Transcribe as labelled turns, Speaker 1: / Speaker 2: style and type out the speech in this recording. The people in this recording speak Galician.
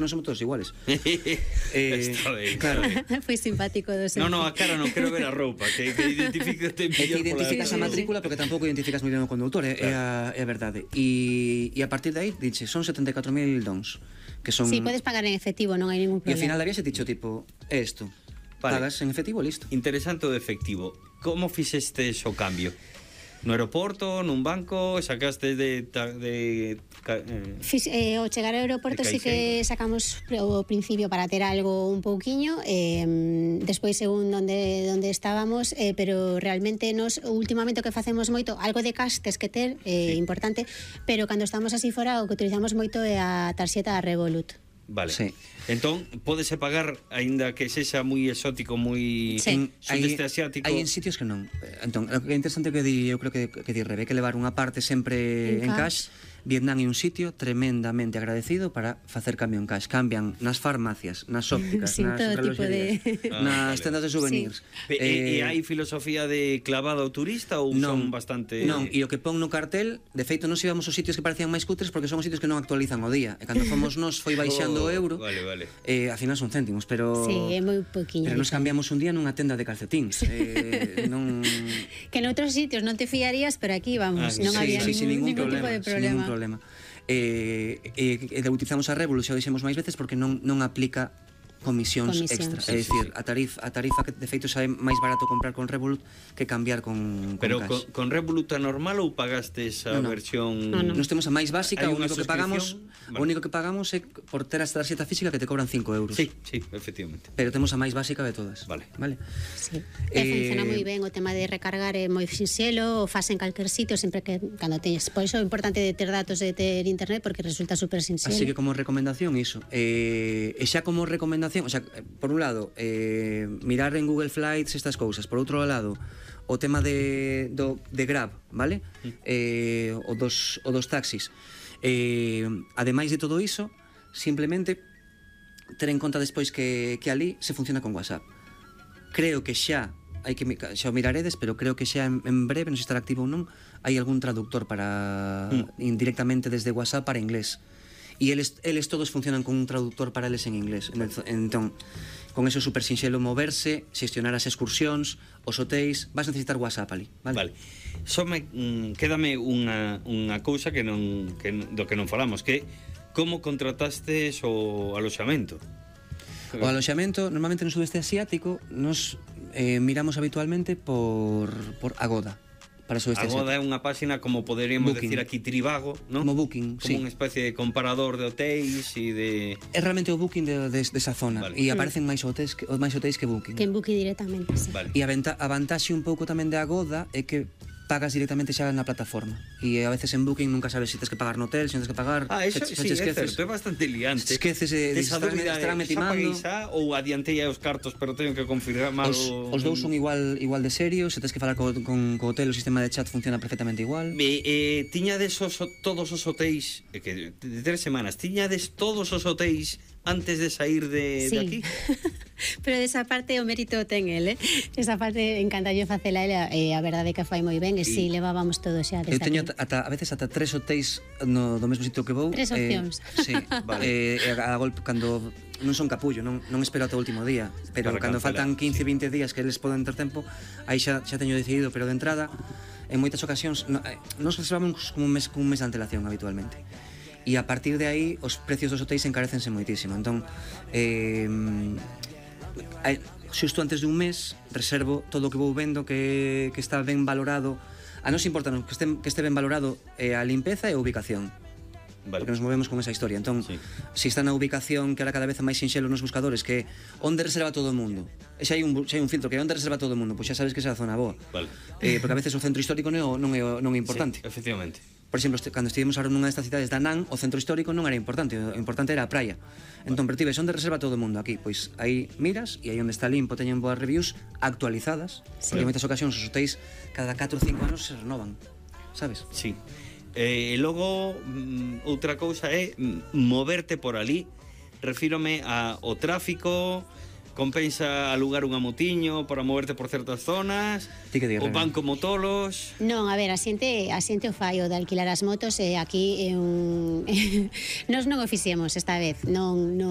Speaker 1: non somos todos iguales.
Speaker 2: Está ben.
Speaker 1: Claro.
Speaker 3: Foi simpático do seu.
Speaker 2: No, a cara non quero ver a roupa, que identifícate
Speaker 1: É que
Speaker 2: mellor
Speaker 1: identificas a matrícula porque tampouco identificas moi ben o condutor, é a verdade. E a partir de aí, dixe, son 74.000 dons, que son...
Speaker 3: Sí, podes pagar en efectivo, non hai ningún
Speaker 1: E ao final
Speaker 3: problema.
Speaker 1: da viaxe dicho, tipo, é isto.
Speaker 2: Vale.
Speaker 1: Pagas en efectivo, listo.
Speaker 2: Interesante o de efectivo. Como fixestes o cambio? No aeroporto, nun banco, sacaste
Speaker 3: O chegar ao aeroporto
Speaker 2: de
Speaker 3: sí que sacamos o principio para ter algo un pouquiño, despois según onde estábamos, pero realmente nos últimamente o que facemos moito, algo de cash tes que ter, importante, pero cando estamos así fora o que utilizamos moito é a tarxeta Revolut.
Speaker 2: Vale.
Speaker 1: Sí.
Speaker 2: Entón, pódese pagar aínda que sexa moi exótico, moi
Speaker 3: Sí.
Speaker 2: sudeste asiático.
Speaker 1: Hai en sitios que non. Entón, o que é interesante que di, eu creo que di Rebe, que levar unha parte sempre en cash. Vietnam é un sitio tremendamente agradecido para facer cambio en cash. Cambian nas farmacias, nas ópticas,
Speaker 3: Sí,
Speaker 1: nas
Speaker 3: todo tipo
Speaker 1: reloxerías, nas tendas de souvenirs.
Speaker 2: E hai filosofía de clavado ao turista ou son bastante...
Speaker 1: Non, e o que pon no cartel, de feito non íbamos aos sitios que parecían máis cutres porque son os sitios que non actualizan o día. E cando fomos nos foi baixando o euro.
Speaker 2: Vale.
Speaker 1: Ao final son céntimos, pero...
Speaker 3: Sí, é moi poquinho.
Speaker 1: Pero nos cambiamos un día nunha tenda de calcetíns. Non...
Speaker 3: Que noutros sitios non te fiarías, pero aquí vamos, non había ningún tipo de
Speaker 1: Sin ningún problema. Utilizamos a Revolut, xa o dixemos máis veces, porque non aplica comisións extra. É dicir, a tarifa que de feito xa é máis barato comprar con Revolut que cambiar con
Speaker 2: Pero
Speaker 1: cash.
Speaker 2: con Revolut a normal ou pagaste esa versión...
Speaker 1: Nos temos a máis básica,
Speaker 2: Hai
Speaker 1: o
Speaker 2: unha
Speaker 1: único que pagamos,
Speaker 2: suscripción?
Speaker 1: o único que pagamos é por ter a tarxeta física que te cobran 5 euros.
Speaker 2: Sí, efectivamente.
Speaker 1: Pero temos a máis básica de todas.
Speaker 2: Vale.
Speaker 3: Sí. Funciona moi ben o tema de recargar, é moi sinxelo, o faz en calquer sitio sempre que cando teñes. Por iso é importante de ter datos, de ter internet, porque resulta super sinxelo.
Speaker 1: Así que como recomendación iso. E xa como recomendación, o sea, por un lado, mirar en Google Flights estas cousas. Por outro lado, o tema de Grab, vale? O dos taxis. Ademais de todo iso, simplemente ter en conta despois que ali se funciona con WhatsApp. Creo que xa o miraredes, pero creo que xa en breve, non sei se estará activo ou non, hai algún traductor para indirectamente desde WhatsApp para inglés. E eles todos funcionan con un traductor para eles en inglés. Entón, con eso é super sinxelo moverse, xestionar as excursións, os hotéis, vas necesitar WhatsApp ali, vale?
Speaker 2: Quédame unha cousa do que non falamos, que como contratastes o aloxamento?
Speaker 1: O aloxamento, normalmente no sudeste asiático, nos miramos habitualmente por Agoda. Para
Speaker 2: Agoda é unha páxina como poderíamos decir aquí Trivago, non?
Speaker 1: Como Booking,
Speaker 2: como unha especie de comparador de hotéis e de...
Speaker 1: É realmente o Booking desa zona. E aparecen máis hotéis que Booking.
Speaker 3: Que en Booking directamente, sí.
Speaker 1: E a vantaxe un pouco tamén de Agoda é que pagas directamente xa na plataforma. E a veces en Booking nunca sabes se tens que pagar no hotel, se tens que pagar...
Speaker 2: Eso sí, é certo, é bastante liante.
Speaker 1: Esqueces de estarme timando.
Speaker 2: Ou adiantei os cartos, pero teño que confirmar
Speaker 1: os dous son igual de serios, se tens que falar co hotel, o sistema de chat funciona perfectamente igual.
Speaker 2: Tiñades todos os hotéis, que de 3 semanas, tiñades todos os hotéis antes de sair de aquí?
Speaker 3: Pero desa parte o mérito ten el, esa parte encantalle facela ela, a verdade que fai moi ben, e si levábamos todo xa desde
Speaker 1: aquí. Eu teño a veces ata 3 hotéis do mesmo sitio que vou.
Speaker 3: 3 opcións.
Speaker 1: Sí, vale. A golpe, cando non son capullo, non espero ata o último día, pero cando faltan 15-20 días que eles poden ter tempo, aí xa teño decidido, pero de entrada, en moitas ocasións, nos reservamos con un mes de antelación habitualmente. E a partir de aí os precios dos hotéis encarecense moitísimo. Entón, xusto antes dun mes reservo todo o que vou vendo que está ben valorado. A nos importa que este ben valorado a limpeza e a ubicación. Porque nos movemos con esa historia. Entón, se está na ubicación que ahora cada vez é máis sinxelo nos buscadores, que onde reserva todo o mundo. E xa hai un filtro que onde reserva todo o mundo, pois xa sabes que esa é a zona boa. Porque a veces o centro histórico non é importante.
Speaker 2: Sí, efectivamente.
Speaker 1: Por exemplo, cando estivemos ahora nunha destas cidades da Nan, o centro histórico non era importante, o importante era a praia. Entón, pero tibes onde reserva todo o mundo aquí, pois aí miras e aí onde está limpo teñen boas reviews actualizadas, porque en moitas ocasións os hotéis cada 4 ou 5 anos se renovan, sabes?
Speaker 2: Sí. E logo outra cousa é moverte por ali. Refírome ao tráfico. Compensa alugar unha motiño para moverte por certas zonas? O van como tolos?
Speaker 3: Non, a ver, a xente o fai o de alquilar as motos, e aquí nós non o fixemos esta vez, non